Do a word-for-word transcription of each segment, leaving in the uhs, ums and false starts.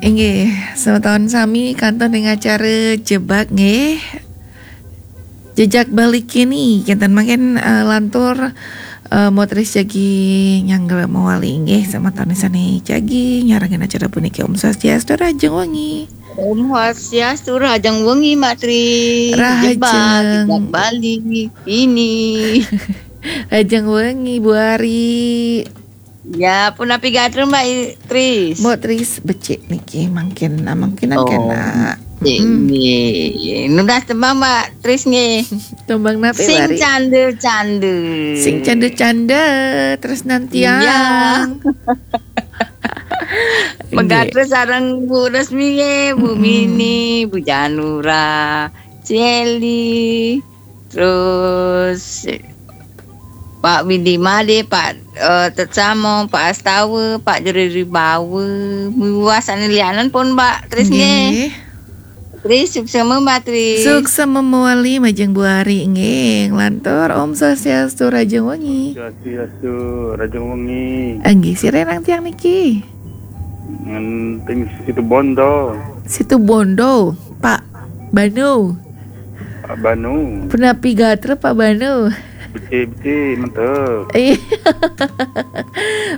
Inggih, semeton sami kantun ring acara Jebak nggih. Jejak Bali kini, kenten mangkin, eh, lantur, eh, Motris jagi nyanggra mawali nggih, semeton sane jagi nyarengin acara puniki. Om Swastiastu, rahajeng wengi. Om Swastiastu, rahajeng wengi, Mak Tri. Rahajeng. Jebak, Jejak Bali kini. Rahajeng wengi, Bu Ari. Ya, punapi gatra, Mbak I-, Tris? Mbok Tris becik niki mangkin, ah, mangkin Oh, kena. Becik Mm-mm. Nggih. Nunas tembang, Mbak Tris nggih. Tembang napi, Sing Mbak Ri? Canda-canda. Sing canda-canda, tresnan Iya. Tiang. Nggih. Megatra sareng Bu Resmi nggih, Bu Mm-mm. Mini, Bu Janura, Celi, terus Pak Widi Made, Pak, eh, Tetsamo, Pak Astawa, Pak Jero Ribawa, miwah sane lianan pun, Mbak Tris nggih. Nggih. Tris, suksema, Mbak Tris. Suksema mawali majeng Bu Ari nggih. Nglantur, Om Swastiastu, rahajeng wengi. Swastiastu, rahajeng wengi. Nggih, sira nang tiang niki? Ngenting Situbondo. Situbondo, Pak Banu. Pak Banu. Punapi gatra, Pak Banu? Becik-becik, mantep. Iya.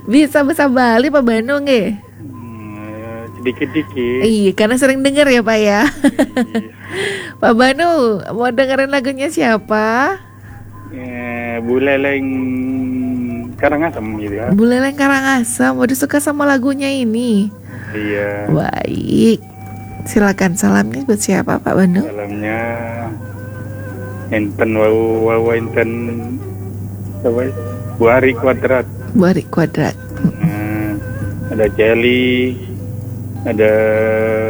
Bisa basa Bali, Pak Banu, nggih? Hmm, sedikit-dikit. Iya, karena sering denger ya, Pak, ya. Iya. Pak Banu, mau dengerin lagunya siapa? Eh, Bu Leleng Karangasem gitu ya. Bu Leleng Karangasem, waduh, suka sama lagunya ini. Iya. Baik. Silakan, salamnya buat siapa, Pak Banu? Salamnya enten wau, wau enten apa? Bu Ari Kuadrat. Bu Ari Kuadrat. Nah, ada Celi, ada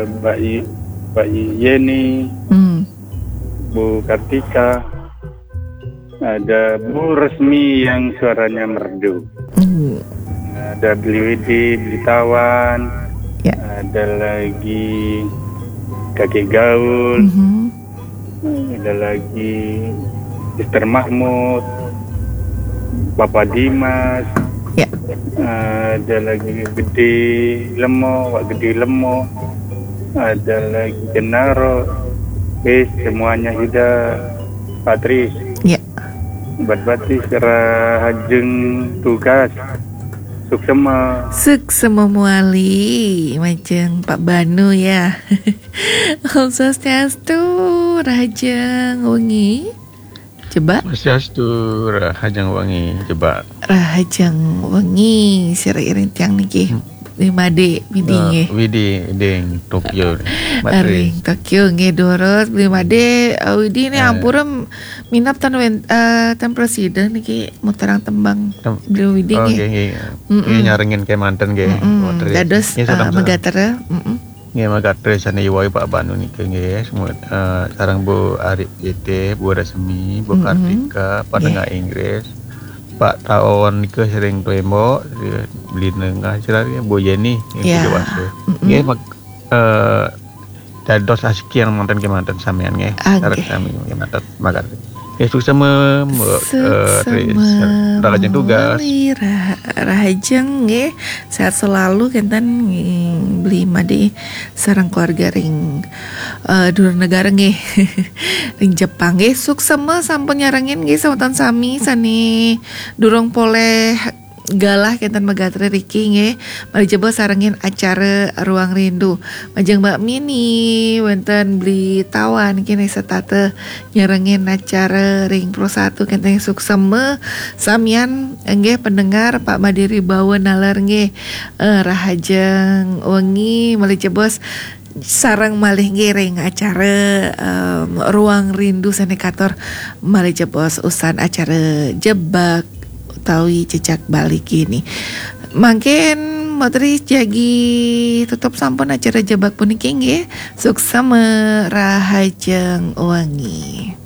Mbak I-, Mbak Yeni, Hmm. Bu Kartika, ada Bu Resmi yang suaranya merdu. Hmm. Ada Beli Widi, Beli Tawan, Ya. ada lagi Kakek Gaul, Mhm. ada lagi Mister Mahmud, Papa Dimas, Ya. ada lagi Gede Lemo, Wak Gede Lemo, ada lagi Genaro, wis semuanya sudah, Pak Tris. Ya. Bat-bat Tris, rahajeng tugas. Suksema. Suksema mawali, majeng Pak Banu ya. Om Swastiastu, rahajeng wengi. Coba. Swastiastu, rahajeng wengi. Coba. Rahajeng wengi, sira iring tiang niki. Hmm. Widi Made, Widi Eh, nggih. Widi, ding Tokyo. Mbak Tri. Ring Tokyo nggih, durus. Widi Made, eh, Widi ni Eh. ampura minab ten wen-, eh, ten prasida niki muterang tembang Tem-, Beli Widi oh, nggih. Nggih, nggih. Mm-mm. Nggih, nyarengin kemanten nggih, Mm-mm. Mbak Tri. Dados, Nggih, eh, salam, salam. Megatra. Mm-mm. Nggih, megatres sane iwai Pak Banu niki nggih, semua, eh, sareng Bu Ari Putih, Bu Resmi, Bu Mm-mm. Kartika, Pak Nggih. Tengah Inggris, Pak Taon nika sering tembok, Beli Nengah, sira Bu Yeni yang Ya. Sidoarjo. Mm-mm. Nggih, mek-, eh, dados asiki yang manten kemanten samian nggih. Ah, Sareng nggih. Sami kemanten, megatres. Nggih, suksema, Mbok, eh, Tri. Suksema Rahajeng tugas. Mawali, rah-, rahajeng nggih. Sehat selalu kenten nggih, Beli Made sareng keluarga ring, eh, dura negara nggih. Ring Jepang nggih. Suksema sampun nyarengin nggih semeton sami sane durung polih galah kenten megatra riki nggih. Malih jebos sarengin acara Ruang Rindu. Majeng Mbak Mini, wenten Beli Tawan kene setata nyarengin acara ring Pro Satu kenten suksema samian nggih pendengar Pak Made Ribawa naler nggih, eh, rahajeng wengi malih jebos sareng malih nggih ring acara, em, Ruang Rindu sane katur malih jebos usan acara Jebak utawi Jejak Bali kini. Mangkin Mbok Tri jagi tutup sampun acara Jebak puniki nggih. Suksema rahajeng wengi.